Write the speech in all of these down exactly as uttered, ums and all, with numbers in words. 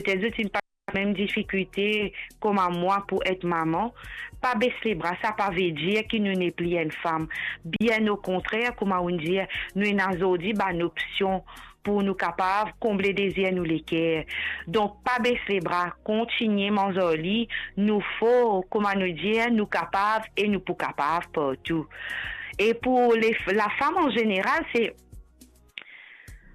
Petete zot inn pas mem difikilte kouma mwa pou et mama. Pa bes lebra, sa pa ve dir ki nou nepli enn fam. Bien okontrer, kouma ou'nn dir, nou ena zordi bann opsion pou nou kapav konble dezir nou leker. Donk, pa bes lebra, kontigne manz ar li, nou for, kouma nou dir, nou kapav e nou pou kapav partou. E pou le, lafam an zeneral, se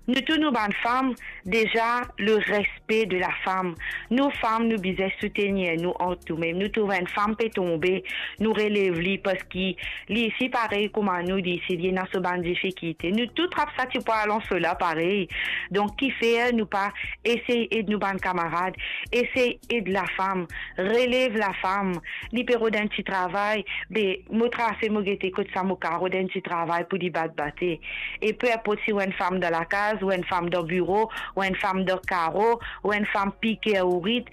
nou tou nou bann fam, deza, le respe de lafam. Nou fam, nou bizin soutenir nou ant nou mem. Nou trouv enn fam pe tonbe, nou relev li, parski li osi parey kouma nou, li osi, li ena so bann difikilte. Nou tou trap sa ti pwal anso la parey. Donk, kifer nou pa esey ed nou bann kamarad, esey ed lafam, relev lafam. Li pe rod enn ti travay, be, mo trase, mo gete kot sa mo kapav rod enn ti travay pou li bat bate. E pe inport si ou enn fam dan lakaz, ou enn fam dan biro, ou enn fam dan karo, ou enn fam pike ou rit,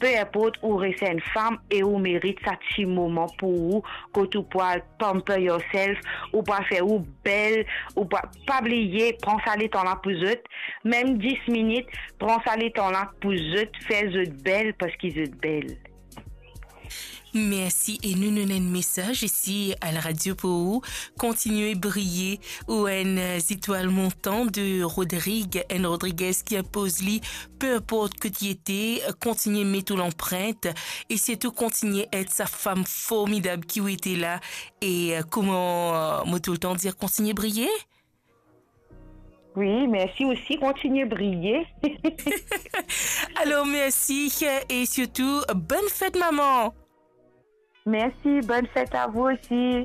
pe inport, ou res enn fam e ou merit sa ti moman pou ou, kot ou pou al pamper yourself, ou pou al fer ou bel, ou pou al, pa bliye, pran sa letan la pou zot, mem dis minit, pran sa letan la pou zot, fer zot bel, parski zot bel. Mersi, e nou, nou ena enn mesaz isi a la radio pou ou. Kontigne briye, ou enn, euh, zetwal montan de Rodrig, enn Rodriguez ki inpoz li, pe inport kot li ete, kontigne met ou lanprint, e sirtou kontigne et sa fam formidab ki ou ete la, e, euh, kouma, euh, mo toultan dir, kontigne briye. Wi, mersi osi, kontigne briye. Alor, mersi, e sirtou, bonn fet, mama. Mersi, bonn fet a vou osi.